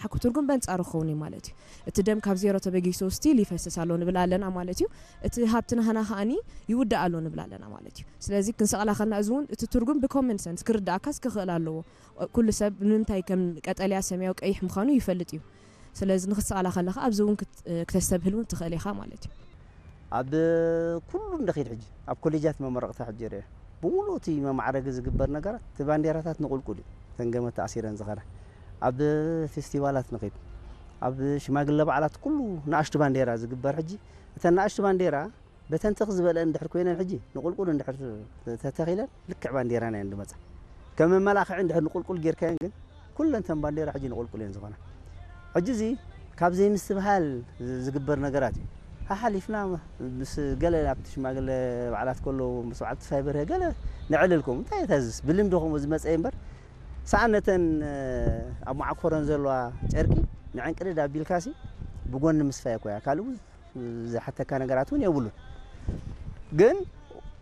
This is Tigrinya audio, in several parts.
ሓኩ ትርጉም በንጻሩ ክኸውን እዩ ማለት እዩ። እቲ ደም ካብ ዜሮ ተበጊሱ ስቲል ይፈስስ ኣሎ ንብል ኣለና ማለት እዩ። እቲ ሃብቲ ናህና ከኣኒ ይውዳእ ኣሎ ንብል ኣለና ማለት እዩ። ስለዚ ክንሰቕላ ከልና እዚ እውን እቲ ትርጉም ብኮመን ሰንስ ክርዳእካስ ክኽእል ኣለዎ። ኩሉ ሰብ ንምንታይ ከም ቀጠልያ ሰማያዊ ቀይሕ ምዃኑ ይፈልጥ እዩ። ስለዚ ንክትሰቕላ ከለኻ ኣብዚ እውን ክት- ክተስተብህል እውን ትኽእል ኢኻ ማለት እዩ። ኣብ ኩሉ እንደኺድ ሕጂ ኣብ ኮሌጃት መመረቕታ ሕጂ ርአ ብምሉእ እቲ መማዕረጊ ዝግበር ነገራት እቲ ባንዴራታት ንቁልቁል እዩ። ተንገመ ተኣሲረን ዝኸዳ ኣብ ፌስቲቫላት ንኺድ ኣብ ሽማግለ በዓላት ኩሉ ንኣሽቱ ባንዴራ ዝግበር ሕጂ እተን ንኣሽቱ ባንዴራ በተንተኽ ዝበለአን እንድሕር ኮይነን ሕጂ ንቁልቁል እንድሕር ተተኺለን ልክዕ ባንዴራና እየን ዝመፃ። ከም መመላኽዒ እንድሕር ንቁልቁል ጌርካየን ግን ኩለን ተን ባንዴራ ሕጂ ንቁልቁል እየን ዝኾና። ሕጂ እዚ ካብ ዘይምስትብሃል ዝግበር ነገራት እዩ። ሓሓሊፍና ምስ ገለ ኣብቲ ሽማግለ በዓላት ከለዉ ምስ በዓል ተስፋይ በርሀ ገለ ንዕልል ከምኡ እንታይ እታ ዝስ ብልምዲ ከምኡ ዝመፀ እምበር ሰኣን ነተን ኣብ መዓኮረን ዘለዋ ጨርቂ ንዕንቅድድ ኣቢልካሲ ብጎኒ ምስፋይ እኮ እያ ካልእ ዝሓተካ ነገራት እውን የብሉን። ግን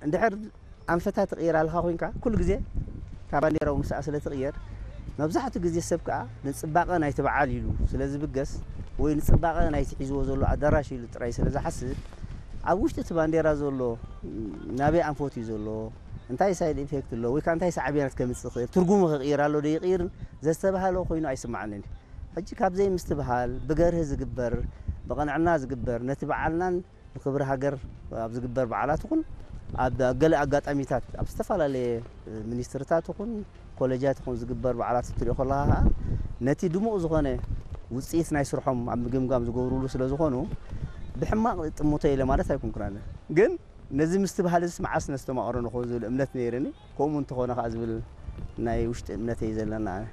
እንድሕር ኣንፈታ ትቕይር ኣለኻ ኮይንካ ኩሉ ግዜ ካብ ባንዴራዊ ምስኣ ስለ ትቕየር መብዛሕትኡ ግዜ ሰብ ከዓ ንፅባቐ ናይቲ በዓል ኢሉ ስለ ዝብገስ ወይ ንፅባቐ ናይቲ ሒዝዎ ዘሎ ኣዳራሽ ኢሉ ጥራይ ስለ ዝሓስብ ኣብ ውሽጢ እቲ ባንዴራ ዘሎ ናበይ ኣንፈት እዩ ዘሎ እንታይ ሳይድ ኢፌክት ኣሎ ወይ ከዓ እንታይ ሳዕቤናት ከምፅእ ይኽእል ትርጉሙ ክቕይር ኣሎ ዶ ይቕይርን ዘስተባህሎ ኮይኑ ኣይስማዓንን እዩ። ሕጂ ካብ ዘይምስትብሃል ብገርህ ዝግበር ብቕንዕና ዝግበር ነቲ በዓልናን ንክብሪ ሃገር ኣብ ዝግበር በዓላት ይኹን ኣብ ገለ ኣጋጣሚታት ኣብ ዝተፈላለየ ሚኒስትርታት ይኹን ኮሌጃት ይኹን ዝግበር በዓላት ክትሪኦ ከለኻ ከዓ ነቲ ድሙቕ ዝኾነ ውፅኢት ናይ ስርሖም ኣብ ምግምጋም ዝገብሩሉ ስለ ዝኾኑ ብሕማቕ ጥሙተ ኢለ ማለት ኣይኮንኩን ኣነ ግን ነዚ ምስትብሃል እዚ መዓስ ነስተማቕሮ ንኸውን ዝብል እምነት ነይርኒ ከምኡ እንተኾነ ከዓ ዝብል ናይ ውሽጢ እምነተይ ዘለና ኣነ